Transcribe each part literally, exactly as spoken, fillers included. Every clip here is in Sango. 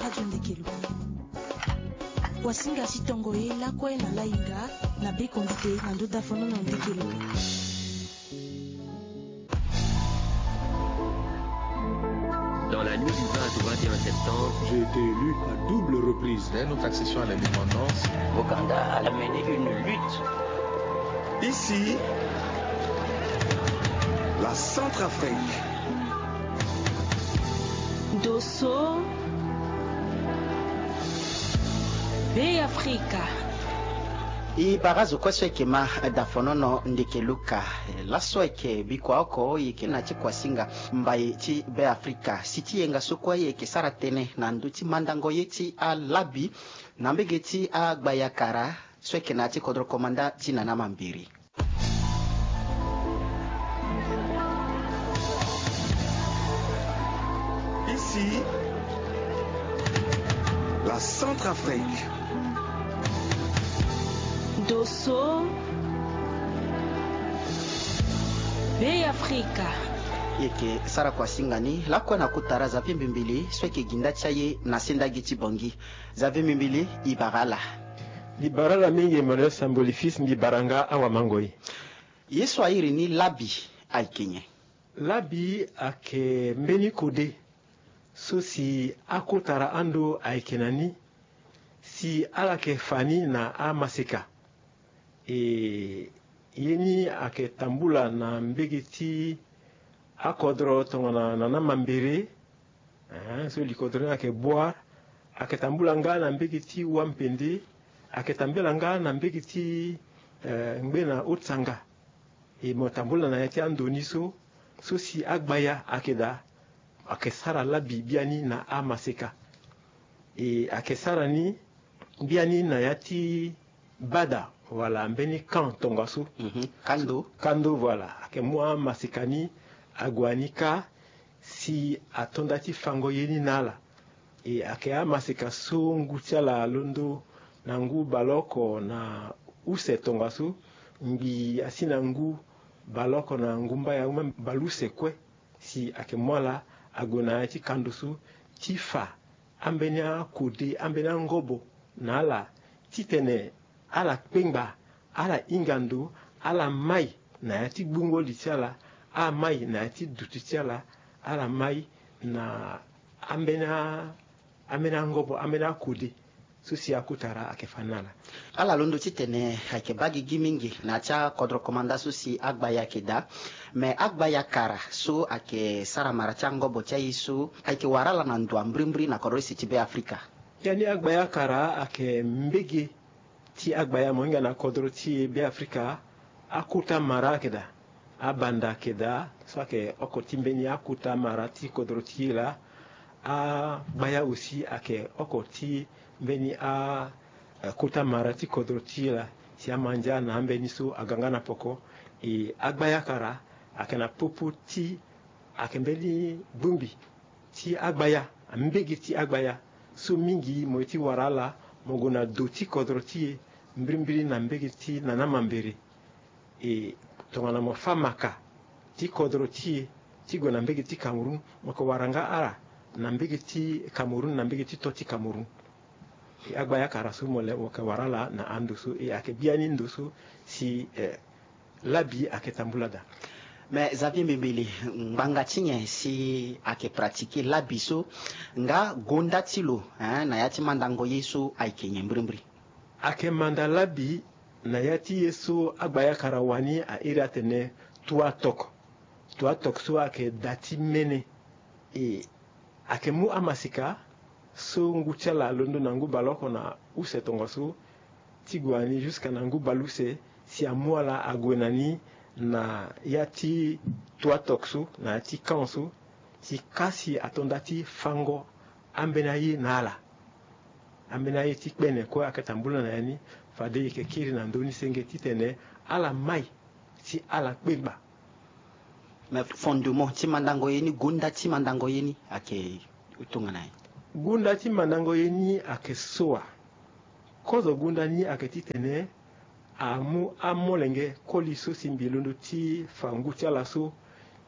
Radio Ndekelo. Wasinga si tongo ye lakue na lainga na biko ndite na ndoda fonono Ndekelo. Dans la nuit du vingt au vingt et un septembre, j'ai été élu à double reprise. Dès notre accession à l'indépendance, Ouganda a mené une lutte. Ici, la Centrafrique. Dosso, Bêafrika. E bara zo kue so ayeke ma da fonono Ndekelo ka. Laso ayeke bikua oko e yeke na ti kuasinga mbai ti Bêafrika. Si ti yenga so kue e yeke sara tënë na ndö ti mandango ye ti alabi na mbege ti agbaya kara so ayeke na ya ti kodro komanda ti Nana Mambere. Ici, la Centrafrique. Dosso, Bêafrika. E yeke sara kuasinga ni lakue na kota ra Xavier Mbimbili so ayeke gi nda ti aye na sendagi ti Bangui. Xavier Mbimbili, e bara ala. Mbi bara ala mingi Emmanuel Samboli Fils, mbi bara nga awamangoi. Ye so a iri ni labi ayeke nyen? Labi ayeke mbeni kode so si akota ra ando ayeke na ni, si ala yeke fa ni na amaseka. E, ye ni ayeke tambula na mbege ti akodro tongana Nana Mambere, eh, so li kodro ni ayeke Bouar, ayeke tambula nga na mbege ti Wampende, ayeke tambula nga na mbege ti, eh, ngbena Haut-Tsanga. E mo tambula na ya ti ando ni so, so si agbaya ayeke daa, ayeke sara labi biani na amaseka. E ayeke sara ni biani na ya ti bada wala mbeni camp tongaso. Mhm. Kando. Kando, voilà. Ayeke mu amaseka ni ague na ni kâ si ato nda ti fango ye ni na ala. E ayeke amaseka so ngu ti ala alondo na ngu baleoko na use tongaso, ngbii asi na ngu baleoko na ngu mbai, même baleuse kue. Si ayeke mu ala ague na ya ti kando so ti fa ambeni akode, ambeni angobo na ala, titene ala kpengba, ala hinga ndo, ala mai na ya ti gbungo li ti ala, ala mai na ya ti duti ti ala, ala mai na ambeni a, ambeni angobo, ambeni akode so si akota ra ayeke fa ni na ala. Ala londo titene ayeke baa gigi mingi na ya ti akodro komanda so si agbaya ayeke daa. Me agbaya kara so ayeke sara mara ti angobo ti aye so ayeke wara ala na ndo ya mbirimbiri na kodro use ti Bêafrika. Biani agbaya kara ayeke mbege ti agbaya mo hinga na kodro ti Bêafrika. Akota mara ayeke daa. Abanda ayeke daa, so ayeke oko ti mbeni akota mara ti kodro ti e laa. Agbaya aussi ayeke oko ti mbeni a, eh, kota mara ti kodro ti e laa. Si amandia na ambeni so aga nga na poko. E agbaya kara ayeke na popo ti, ayeke mbeni bongbi ti agbaya, mbege ti agbaya so mingi mo ye ti wara ala, mo gue na do ti kodro ti e, mbirimbiri na mbege ti Nana Mambere. E tongana mo fâ maka ti kodro ti e ti gue na mbege ti Cameroun, mo yeke wara nga ala na mbege ti Cameroun, na mbege ti to ti Cameroun. E agbaya kara so mo le, mo yeke wara ala na ando so, e ayeke biani ndo so si, eh, labi ayeke tambula daa. Me Xavier Mbimbili, ngbanga ti nyen si ayeke pratiquer labi so, nga gonda ti lo, hein, na ya ti mandango ye so ayeke nyen mbirimbiri? Ayeke manda labi na ya ti ye so agbaya kara wani a iri atene tuatok. Tuatok so ayeke da ti mene. E ayeke mu amaseka so ngu ti ala alondo na ngu baleoko na use tongaso ti gue na ni jusqu'à na ngu baleuse, si amu ala ague na ni na ya ti tuatok so, na ya ti camp so, si kâ si ato nda ti fango ambeni aye na ala. Ambeni aye ti kpene kue ayeke tambula na ya ni. Fade e yeke kiri na ndö ni senge titene ala mai si ala kpengba. Me fondement ti mandango ye ni, gonda ti mandango ye ni ayeke tongana nyen? Gonda ti mandango ye ni ayeke so wa. Kozo gonda ni ayeke titene amu amolenge koli so si mbi londo ti fa ngu ti ala so,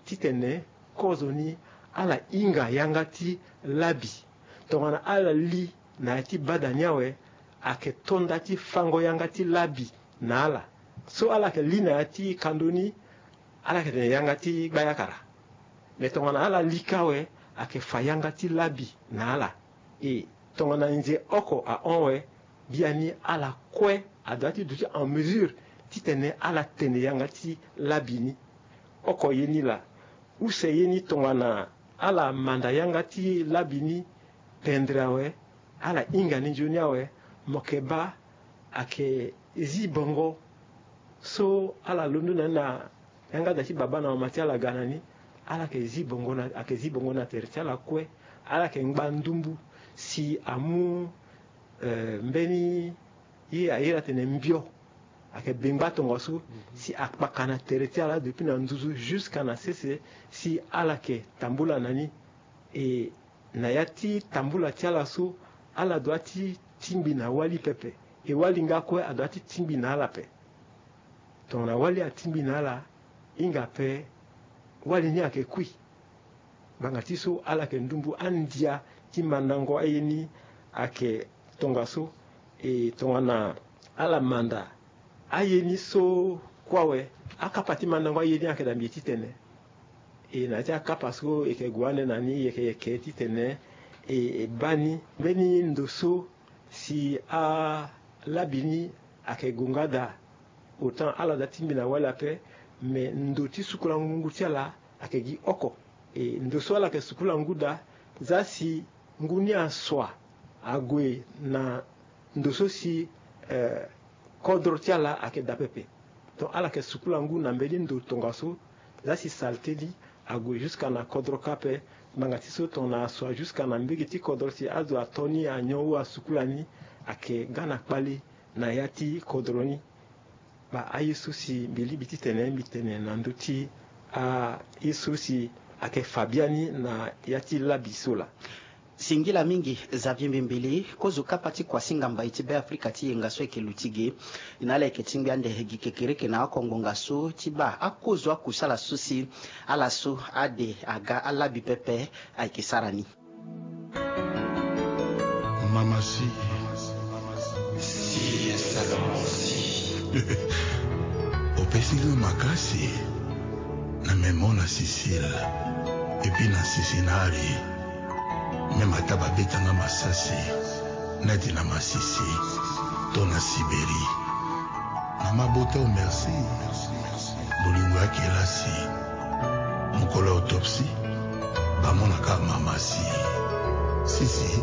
titene kozo ni ala hinga yanga ti labi. Tongana ala li na ya ti bada ni awe, ayeke to nda ti fango yanga ti labi na ala. So ala yeke li na ya ti kando ni, ala yeke tene yanga ti gbayakara. Me tongana ala li kâ awe, ayeke fa yanga ti labi na ala. E tongana nze oko ahon awe, biani ala kue adoit ti duti en mesure titene ala tene yanga ti labi ni. Oko ye ni laa. Use ye ni tongana ala manda yanga ti labi ni pendre awe, ala hinga ni nzoni awe, mo yeke baa ayeke zi bongo so ala londo na ni na yanga da ti baba na mama ti ala ga na ni. Ala yeke zi bongo na, ayeke zi bongo na tere ti ala kue. Ala yeke ngba ndumbu si amu, eh, mbeni ye airi atene mbio. Ayeke bengba tongaso si akpaka na tere ti ala depuis na nduzu jusqu'à na sese, si ala yeke tambula na ni. E na ya ti tambula ti ala so, ala doit ti tingbi na wali pepe. E wali nga kue adoit ti tingbi na ala ape. Tongana wali atingbi na ala, hinga ape wali ni ayeke kui. Ngbanga ti so ala yeke ndumbu andia ti mandango aye ni ayeke tongaso. E tongana ala manda aye ni so kue awe, akapa ti mandango aye ni ayeke da mbi titene. E na ya ti akapa so e yeke gue ande na ni, e yeke, e yeke titene e, e baa ni mbeni ndo so si alabi ni ayeke gue nga daa. Autant ala da tingbi na wali ape, me ndo ti sukula ngu ti ala ayeke gi oko. E ndo so ala yeke sukula ngu daa, za si ngu ni asua ague na ndo so si, eh, kodro ti ala ayeke daa pepe. Donc ala yeke sukula ngu na mbeni ndo tongaso, za si salté ni ague jusqu'à na kodro kâ ape. Ngbanga ti so tongana asua jusqu'à na mbege ti kodro si azo ato ni anyon ou asukula ni, ayeke ga na kpale na ya ti kodro ni. Baa aye so si mbi lingbi titene mbi tene na ndö ti aye so si ayeke fa biani na ya ti labi so laa. Singila mingi Xavier Mbimbili, kozo kapa ti kuasinga mbai ti Beafrika ti yenga so ayeke luti ge. Na ala yeke tingbi ande gi kekereke na oko ngbonga so ti baa akozo akusala so si ala so ade aga alabi pepe ayeke sara ni. Mama si. Si, Salomon si. Opesi nga makasi na me mona Sisile, epi na Sisinari. Même ata babeta nga masasi, neti na Masisi to na Sibérie. Mama bota o merci. Bolingo ya kelasi. Mokolo ya autopsie, bamonaka mama si. Sisi,